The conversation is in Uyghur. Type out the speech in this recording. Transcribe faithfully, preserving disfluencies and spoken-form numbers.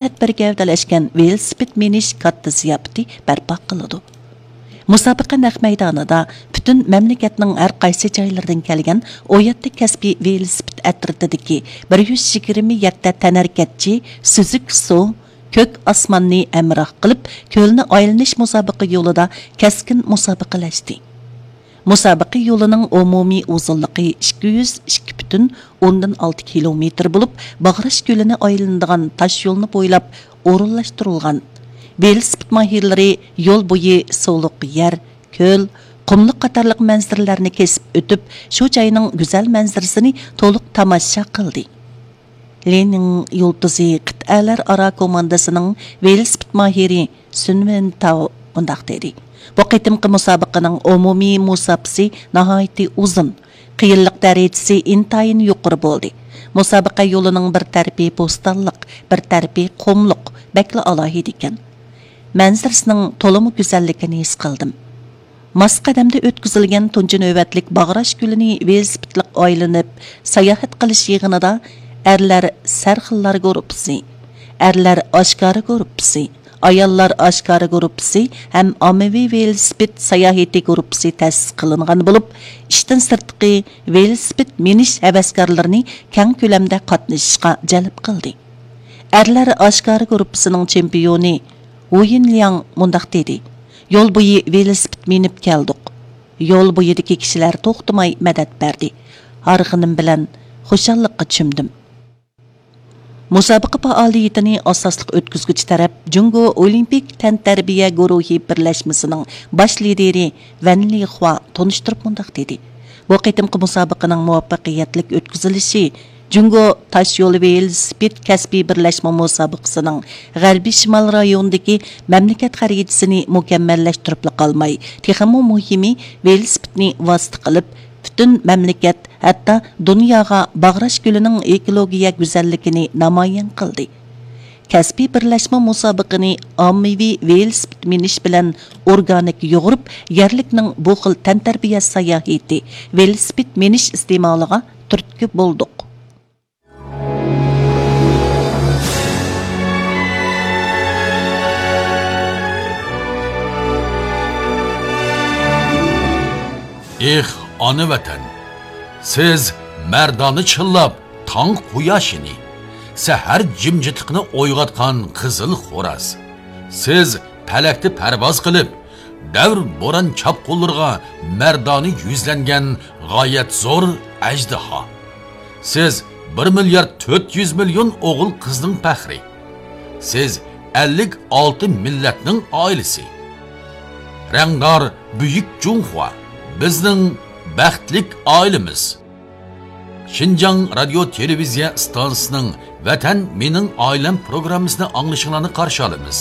مىللەت بىر گەۋدىلەشكەن ۋېلىسىپىت مىنىش كاتتا زىياپىتى بەرپا قىلىدۇ. مۇسابىقە نەق مەيدانىدا پۈتۈن مەملىكەتنىڭ ھەر قايسى جايلىرىدىن كەلگەن ئون يەتتە كەسپىي ۋېلىسىپىت ئەترىتىدىكى بىر يۈز يىگىرمە يەتتە تەنھەرىكەتچى سۈزۈك سۇ، كۆك ئاسماننى ھەمراھ قىلىپ، كۆلنى ئايلىنىش مۇسابىقە يولىدا كەسكىن مۇسابىقىلەشتى. مۇسابىقە يولىنىڭ ئومۇمىي ئۇزۇنلۇقى ئىككى يۈز ئىككى پۈتۈن ئوندىن ئالتە كىلومېتىر بولۇپ، باغراش كۆلىنى ئايلىنىدىغان تاش يولنى بويلاپ ئورۇنلاشتۇرۇلغان. ۋېلىسىپىت ماھىرلىرى يول بويى سۇلۇق يەر، كۆل، قۇملۇق قاتارلىق مەنزىرىلەرنى كېسىپ ئۆتۈپ، شۇ جاينىڭ گۈزەل مەنزىرىسىنى تولۇق تاماشا قىلدى. لېنىن يۇلتۇزى قىتئەلەر ئارا كوماندىسىنىڭ ۋېلىسىپىت ماھىرى سۈن ۋېن تاۋ مۇنداق دېدى: «بۇ قېتىمقى مۇسابىقىنىڭ ئومۇمىي مۇساپىسى ناھايىتى ئۇزۇن، قىيىنلىق دەرىجىسى ئىنتايىن يۇقىرى بولدى. مۇسابىقە يولىنىڭ بىر تەرىپى بوستانلىق، بىر تەرىپى قۇملۇق، بەكلا ئالاھىدە ئىكەن. مەنزىرىسىنىڭ تولىمۇ گۈزەللىكىنى ھېس قىلدىم.» ماس قەدەمدە ئۆتكۈزۈلگەن تۇنجى نۆۋەتلىك باغراش كۆلىنى ۋېلىسىپىتلىق ئايلىنىپ ساياھەت قىلىش يىغىنىدا ئەرلەر سەرخىللار گۇرۇپپىسى، ئەرلەر ئاشكارا گۇرۇپپىسى، ئاياللار ئاشكارا گۇرۇپپىسى ھەم ئاممىۋى ۋېلىسىپىت ساياھىتى گۇرۇپپىسى تەسىس قىلىنغان بولۇپ، ئىشتىن سىرتقى ۋېلىسىپىت مىنىش ھەۋەسكارلىرىنى كەڭ كۆلەمدە قاتنىشىشقا جەلپ قىلدى. ئەرلەر ئاشكارا گۇرۇپپىسىنىڭ چېمپىيونى ۋۇيىن لياڭ مۇنداق دېدى: «يول بويى ۋېلىسىپىت مىنىپ كەلدۇق. يول بويىدىكى كىشىلەر توختىماي مەدەت بەردى. ھارغىنىم بىلەن خۇشاللىققا چۆمدۈم.» مۇسابىقە پائالىيىتىنى ئاساسلىق ئۆتكۈزگۈچى تەرەپ جۇڭگو ئولىمپىك تەنتەربىيە گۇرۇھى بىرلەشمىسىنىڭ باش لىدىرى ۋەن لىخۇا تونۇشتۇرۇپ مۇنداق دېدى: «بۇ قېتىمقى مۇسابىقىنىڭ مۇۋەپپەقىيەتلىك ئۆتكۈزۈلۈشى جۇڭگو تاشيولى ۋېلىسىپىت كەسپىي بىرلەشمە مۇسابىقىسىنىڭ غەربىي شىمال رايونىدىكى مەملىكەت خەرىتىسىنى مۇكەممەللەشتۈرۈپلا قالماي، تېخىمۇ مۇھىمى، ۋېلىسىپىتنى ۋاسىتە قىلىپ، پۈتۈن مەملىكەت، ھەتتا دۇنياغا باغراش كۆلىنىڭ ئېكولوگىيە گۈزەللىكىنى نامايان قىلدى.» كەسپىي بىرلەشمە مۇسابىقىنى ئاممىۋى ۋېلىسىپىت مىنىش بىلەن ئورگانىك يۇغۇرۇپ، يەرلىكنىڭ بۇ خىل تەنتەربىيە ساياھىتى، ۋېلىسىپىت مىنىش ئىستېمالىغا تۈرتكە بولدۇق. ئېھ، ئانا ۋەتەن! سىز مەردانە چىللاپ، تاڭ قۇياشىنى، سەھەر جىمجىتلىقىنى ئويغاتقان قىزىل خوراز. سىز پەلەكتە پەرۋاز قىلىپ، دەۋر بوران چاپقۇنلىرىغا مەردانە يۈزلەنگەن غايەت زور ئەجدىھا. سىز بىر مىليارد تۆت يۈز مىليون ئوغۇل قىزنىڭ پەخرى. سىز ئەللىك ئالتە مىللەتنىڭ ئائىلىسى. رەڭدار بۈيۈك جۇڭخۇا، بىزنىڭ بەختلىك ئائىلىمىز. شىنجاڭ رادىيو تېلېۋىزىيە ئىستانسىسىنىڭ ۋەتەن مېنىڭ ئائىلەم پروگراممىسىنى ئاڭلىشىڭلارنى قارشى ئالىمىز.